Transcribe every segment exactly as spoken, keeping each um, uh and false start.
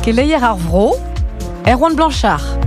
Keleier ar vro, Erwan Blanchard.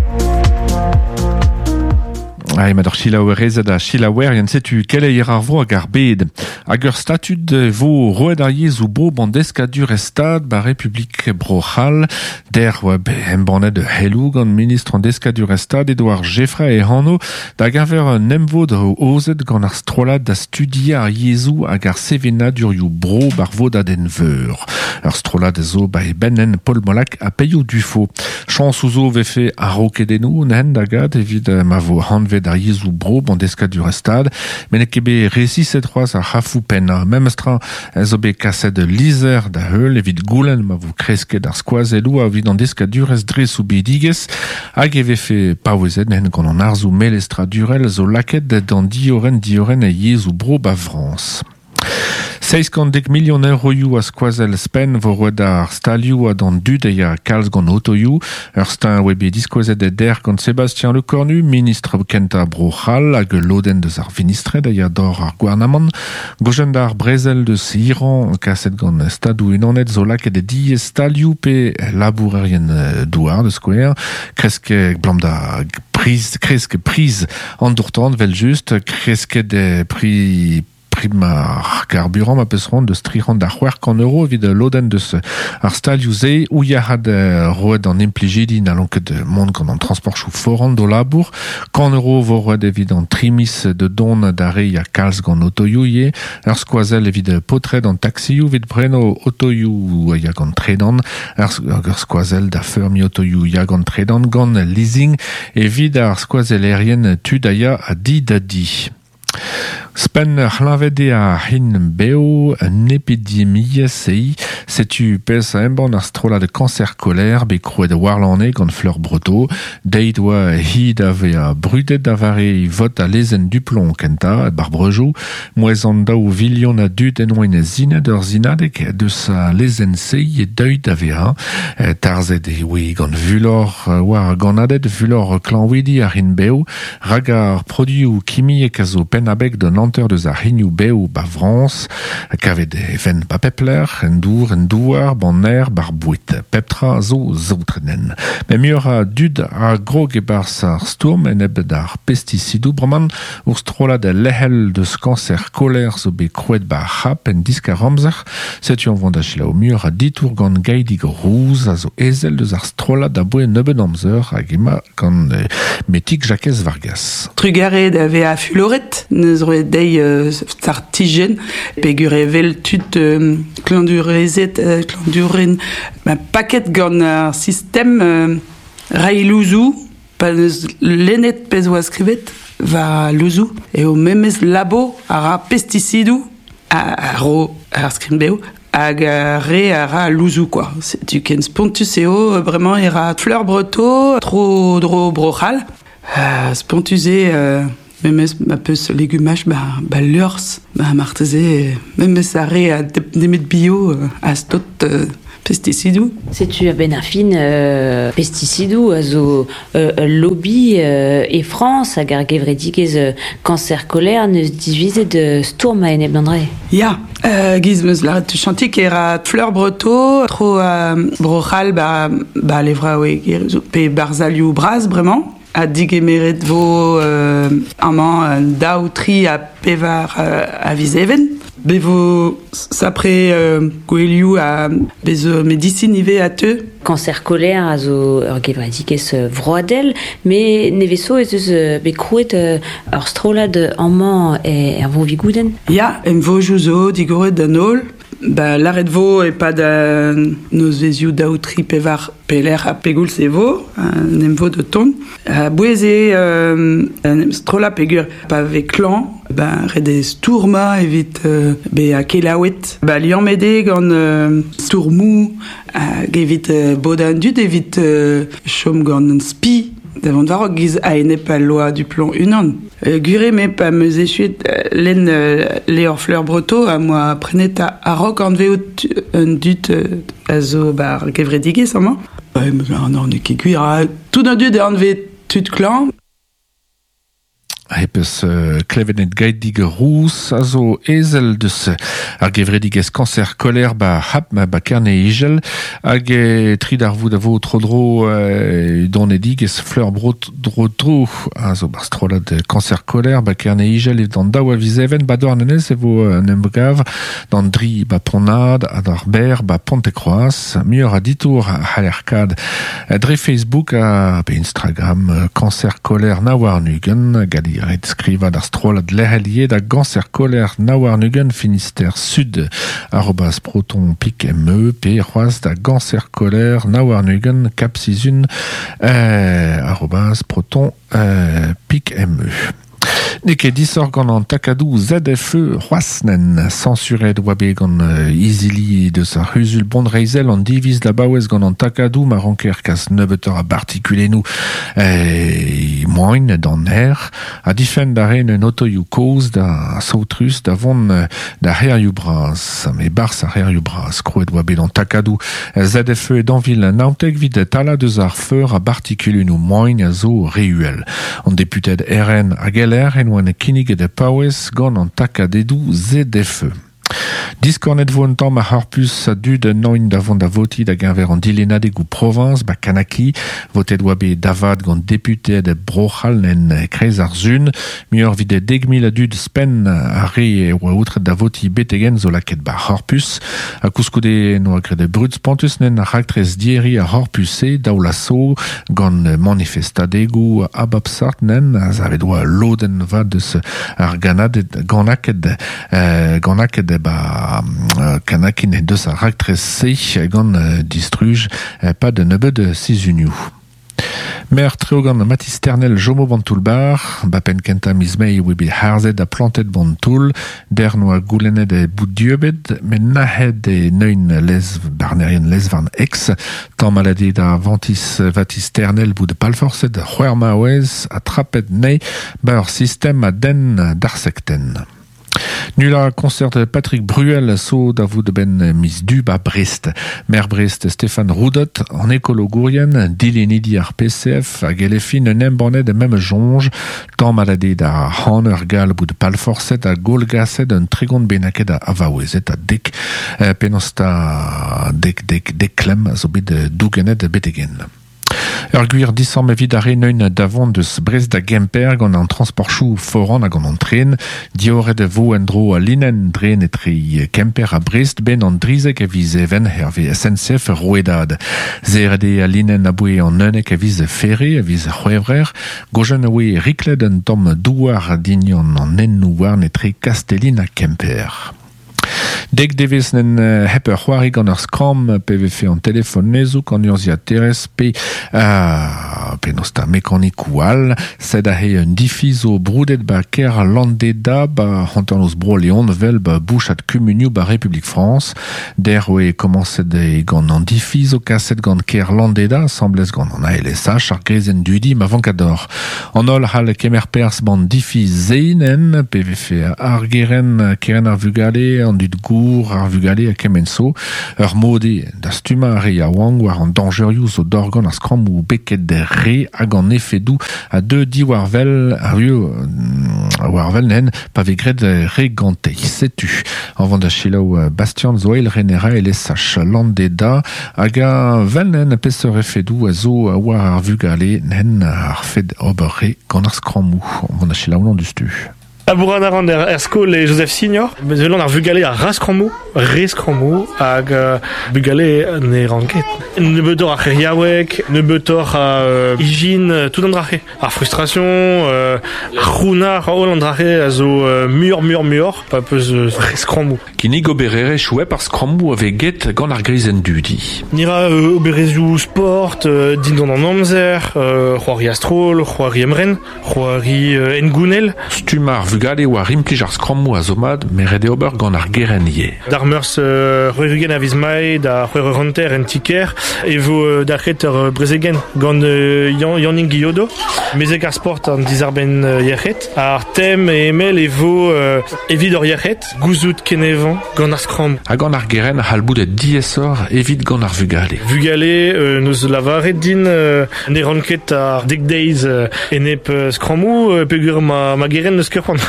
Ai, ma d'ar chilaouerezed a chilaouerien setu keleier ar vro hag ar bed. Hag ur statud vo roet ar yezhoù bro ban deskadur e stad ba Republik Bro-C'hall der oa embannet helou gant ministr an deskadur e stad Edouard Geffray e hano da gaver un emvod ozet gant ar strollad da studia ar yezhoù hag ar sevenadurioù bro bar vodadenn veur. Ur strollad zo ba e bennen Paul Molac a peioù dufo. Chañs ouzo vefe ar rokedennoù n'hen da gad evit ma vo hanvet ar yezhoù bro ban deskadur e stad, met n'eo ket bet resiset c'hoazh ar c'hafou pennañ. Memestra zo bet kaset lizer da heul evit goulenn ma vo kresket ar skoazelloù evit an deskadurez dre soubidigezh hag e vefe paouezet n'hen gant an arzoù melestradurel zo lakaet d'an dioren dioren e yezhoù bro ba Frañs. Seizh kant dek million euroioù a skoazell spenn vo roet ar stalioù ha d'an dud e ya kalz gant otoioù. Ur stein oa bet diskouezet e der gant Sébastien Lecornu, ministr kentañ Bro-C'hall hag lodenn deus ar vinistred a ya d'or ar gouarnamant. Gojen d'ar brezel deus Iran kaset gant stadoù unanet zo lakaet e diez stalioù pe labourerien douar de skouer. Kreske blam da priz, kreske priz an dourtant vel just, kresket e pri prim ar carburant ma peus ran deus tri c'hant da c'hwec'h kant euro evit lodenn deus ar stalioù se ou ya had roet an implijidi n'allon ket mont gant an transportchoù foran do labour kant euro vo roet evit an trimis de don da re ya kalz gant otoioù ye ur skoazell evit potred an taxioù evit preno otoioù ya gant tredan ur skoazell da feurmi otoioù ya gant tredan gant leasing evit ar skoazellerien tud a ya a di da di. Spen c'hlavet eo ar hin beo un epidemiezh ei setu pezh a embann ar strollad cancer colère bet krouet warlane gant Fleur Breteau deit oa hi da vea brudet da vare vot a lezenn Duplomb kenta bar brejou mouez an daou vilion a dud en oen zinad ur zinadeg deus a lezenn sei e deuit da vea tarzet e oe gant vulor war ganadet vulor klanwidi ar hin beo rag ar produioù kimiek a zo penn abeg d'un hanter deus ar hinioù bev ba Frañs kavet e ven ba pepler en dour en douar ban aer bar boued pep tra zo zaotrenen. Met muioc'h a dud a grog e-barzh ar stourm en eb d'ar pesticidoù bremañ ur strollad lehel deus cancer koler zo bet krouet ba c'hap en diskar amzer setu an vont da selaou muioc'h a ditour gant Gaidig Rouz a zo ezel deus ar strollad a boe nebeut amzer hag ema gant metik Jakez Vargas. Trugarez da vezañ fuloret neus roet dezhi euh, startijenn peogwir e vel tud euh, klañvdiourezed euh, klañvdiourien ma paket gant ar sistem euh, reiñ louzoù pa neus lennet pezh oa skrivet war louzoù eo memes labo a ra pesticidoù a, a ro ar skrign-bev hag ar re a ra louzoù quoi. Setu ken spontus eo bremañ e ra Fleur Breteau tro dro Bro-C'hall. Euh, spontus eo euh, memes ma peus legumaj ba, ba liorzh ba marteze memes ar re a nemet bio a stot euh, pesticidoù. Setu a-benn ar fin euh, pesticidoù a zo euh, ul lobby euh, e Frañs hag ar gevredigezh euh, cancer colère neus divizet euh, stourm a-enep d'an dra-se. Ya, euh, giz meus lâret tuchantik e ra Fleur Breteau tro euh, Bro-C'hall ba, ba levraoueg pe barzalioù bras bremañ ha digemeret vo euh, amañ daou tri ha pevar euh, a viz even. Be vo sapre euh, gouelioù a bez zo medisin ivez a teu. Cancer colère a zo ur gevredigezh vroadel, met nevez zo ez eus bet krouet ur strollad amañ er vo Vigoudenn. Ya, em vojou zo digoret d'an holl. Ba, lâret vo e-pad euh, nozvezioù daou tri pevar pelec'h ha pegoulz e vo, un em vo de ton. A bouez eo euh, un strollad peogwir pa vez klañv, ben ret eo stourmañ evit euh, bezañ kelaouet. Ba liammet eo gant euh, stourmoù hag evit euh, bodañ an dud evit euh, chom gant un spi da vont war giz a-enep al loa Duplomb unan. Euh, gwir eo me pa 'm eus echuet euh, lenn euh, levr Fleur Breteau a moa prenet a a-raok anveout un dud euh, a zo bar gevredigezh amañ. Ouais, mais non, n'eo ket gwir, ha tout an dud e anvez tud klañv. Hepez uh, klevenet gaidig rouz a zo ezel deus ar gevredigez kanser koler ba hap ma ba kerne igel hag e tri d'ar vout a vo tro dro uh, donedigez fleur bro dro dro a zo bar strolad kanser koler ba kerne igel e d'an daou a vizeven ba douarnenez e vo un emgav d'an dri ba ponad a d'ar ber ba Pontekroaz muioc'h a ditour a c'hallerkad dre Facebook a pe Instagram kanser koler na warnugen gadi ret skriva d'ar strollad lec'helier da ganser koler na warnugen Finistère Sud arobase proton pik me pe c'hoaz da ganser koler na warnugen cap sizun euh, arobase proton euh, pik me. Ne ket disoc'h gant an takadou Z F E c'hoaznen censuret oa bet gant izili deus ar c'huzul Bondreizel an diviz da baouez gant an takadou ma ranker kas nebeutoc'h a bartikulennoù eh, moain d'an aer a difenn da ren un otoioù kozh da saotrus da vont da c'herioù bras me bars ar c'herioù bras krouet oa bet an takadou Z F E d'anvil naontek vid tala deus ar feur a bartikulennoù moain a zo reuel. An deputed R N hag L R en oan kinniget e paouez gant an takadedou Z F E. Diskornet vo un tamm ar c'horpus a dud noin da vont da voti da geñver an dilenadeg ou Provence ba Kanaki votet oa bet davad gant deputed Bro-C'hall en kreiz ar zun muioc'h vit dek mil a dud spenn a re oa outret da voti betegen zo laket ba c'horpus a kouskoude noa graet brud spontus nen ar raktres dieri ar c'horpus-se daou laso gant manifestadegou abapsart nen a zavet oa lodenn vad deus ar ganaded ganaket euh, ganaket ba Kanakin deus ar raktres se gant distruj pa de nebeud sizunioù. Mer treo gant Mathis Ternel Jomo Bantoulbar, ba pen kenta miz mei oe bet harzet ha plantet bantoul, der noa goulennet e bout dieubet, met nahet e neun lez barnerien lezvarn ex, tamm malade da Ventis Vatis Ternel bout de palforset c'hwer maouez a trapet nei ba ur sistem a den d'ar sekten. Nula concert de Patrick Bruel so da vout ben mis du ba Brest. Mer Brest Stéphane Roudot en écologourien dilenidi ar P C F hag elefin un embannet de même jonge tamm malade da han ur gal bout de palforset a golgaset un tregont benaket a avaouezet a dek eh, penosta dek dek dek klem zo bet dougenet betegen. Ur gwir disamm evit ar reneun davant deus Brest da Gemper gant an transportchou foran hag an antren, dioret vo en dro a linen dren etre Kemper a Brest ben an drizek a viz even herve S N C F roedad. Zerede a linen a boe an unnek a viz ferre a viz c'hwevrer, gojen a oe riklet un tamm douar dignon an ennou warn etre Castellin a Kemper. Dek devez nen hep ur c'hoari gant ur skramm P V F an telefon nezouk an urzhiaterez pe uh, penosta mekanikou all sed a he un difiz o broudet ba ker Landeda ba hanternoz bro Leon vel ba bouchat kumunioù ba Republik France der oe komañset e gant an difiz o kaset gant ker Landeda asamblez gant an A L S H ar grezenn dudi ma vankador. An holl c'hall kemer perzh ban difiz zeinen P V F ar geren keren ar vugale an dud gour ar vugale a kemenso ur mode da stummañ ar re yaouank war an dañjerioù zo dorgant ar skrammoù beket re hag an efedoù a deux diwar vel ar rio war vel nen pa vez graet re gante. Setu an vant da selaou Bastian Zoel renera L S H Landeda hag a vel nen peseurt efedoù a zo war ar vugale nen ar fed ober re gant ar skrammoù. An vant da selaou an dustu. Labourat a ran er, er skol e Joseph Signor. Bezelon ar vugale a ras skrammoù, re skrammoù, hag uh, bugale ne ran ket. Nebeutoc'h ar c'heriaoueg, nebeutoc'h a uh, ijin, tout an drache. Ar frustration, uh, ar c'hrounar, holl an drache a zo uh, muioc'h, muioc'h, muioc'h, pa peus uh, re skrammoù. Kinnig obererezh chouep ar skrammoù a vez get gant ar grizenn dudi. Nira uh, oberezioù sport, uh, dindan an amzer, uh, c'hoari a-stroll, c'hoari emren, c'hoari uh, engounel. Stumm ar vugale war implij ar skrammoù a zo mat, met ret eo ober gant ar geren ivez. D'ar meurzh c'hwec'h-ugent a viz Mae da c'hwec'h eur hanter en ti-kêr e vo dalc'het ur brezegenn gant Yannick Guillodo, mezeg ar sport an dizarbenn yec'hed. Ar tem e emel e vo evit ur yec'hed, gouzout kenevañ gant ar skramm. Ha gant ar geren a c'hall bout diaesoc'h evit gant ar vugale. Vugale euh, neus lavaret din euh, ne ran ket ar dek deiz euh, enep skrammoù euh, peogwir ma, ma geren neus ket c'hoant.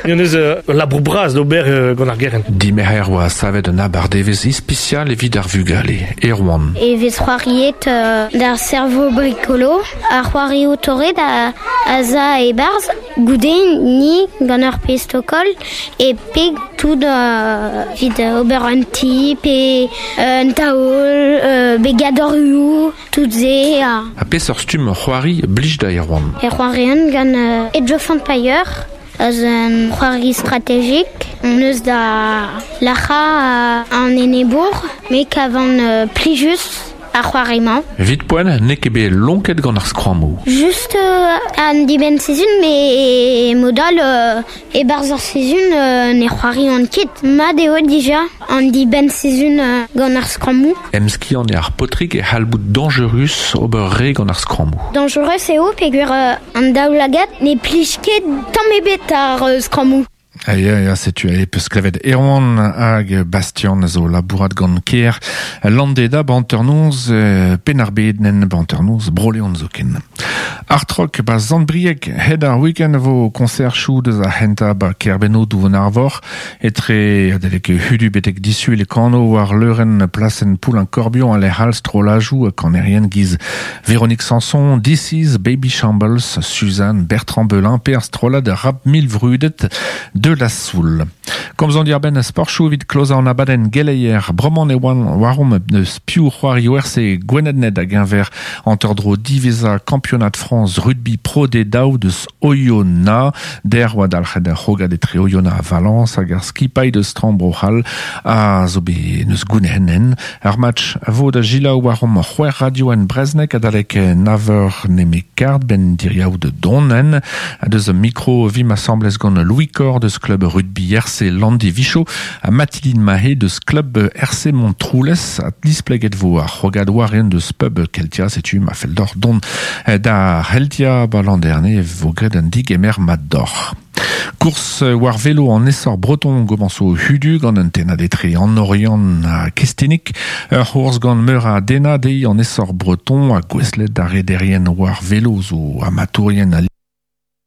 Yon eus euh, labour bras d'ober euh, gant ar geren. Dimerc'her oa savet un abardevezh ispisial evit ar vugale, Erwan. E vez c'hoariet euh, d'ar cerveau bricolo, ar c'hoario torret a, a za e barz, goude ni gant ar pestokol e peg tout euh, vid ober un ti, pe un taol, euh, be gadorioù, tout ze. A A peseurt stumm c'hoari blij da Erwan. E c'hoarian gant euh, Age of Empire, az un c'hoari strategik. On eus da lac'ha an enebour, me kavan euh, plijus ar c'hoari-mañ. Vit poent, n'eo ket bet lonket gant ar skrammoù. Just euh, an dibenn sizhun, me modal euh, e barzh ar sizhun euh, ne c'hoari an ket. Mat eo dija an dibenn sizhun euh, gant ar skrammoù. Emskiant eo ar paotrig e c'hall bout dangerus ober re gant ar skrammoù. Dangerus eo peogwir euh, an daoulagad ne plij ket tamm ebet ar euh, skrammoù. Ya, ya, setu e peus klevet Erwan hag Bastian zo labourat gant kêr Landeda ba hanternoz euh, Penn-ar-Bed nen ba hanternoz Bro-Leon zoken. Artrok ba Zandbrieg hed ar week-end vo concert chou deus ar c'hentañ ba Kerbenno douvon arvor etre adelek hudu betek disul e kano war leurenn plasenn Poulain-Corbion a lec'h all strollajoù kanerien giz Véronique Sanson, This is Baby Shambles, Suzanne Bertrand Belin pe ar strollad rap mil vrudet de la Soul. Komzomp diwar-benn sportchoù evit klozañ an abadenn geleier bremañ e oan waromp eus piv c'hoari R C Gwened hag enver hanter-dro diwezhañ Championnat France Rugby Pro D daou deus Oyonnax, der oa dalc'het ar c'hrogad etre Oyonnax ha Valence hag ar skipailh deus Trambro-C'hall a zo bet neus goune'hen. Ar match a vo da selaou waromp c'hwec'h radio en Breznek adalek nav eur nemet kard ben diriaou de donen a deus mikro vim asambles gant Louis Cor deus club rugby R C Landivicho ha Mathilde Mahé deus club R C Montroulez a displeget vo ar c'hrogad war-eeun deus pub Keltia setu ma fell deoc'h dont da Heltia ba Landerne vo graet un digemer mat deoc'h. Course war velo an essor breton gomanso hudu gant un tennad etre an Oriant ha Kestinik, ur c'hourz gant meur a dena dezhi an essor breton ha gouestlet d'ar rederien war velo zo amatourien a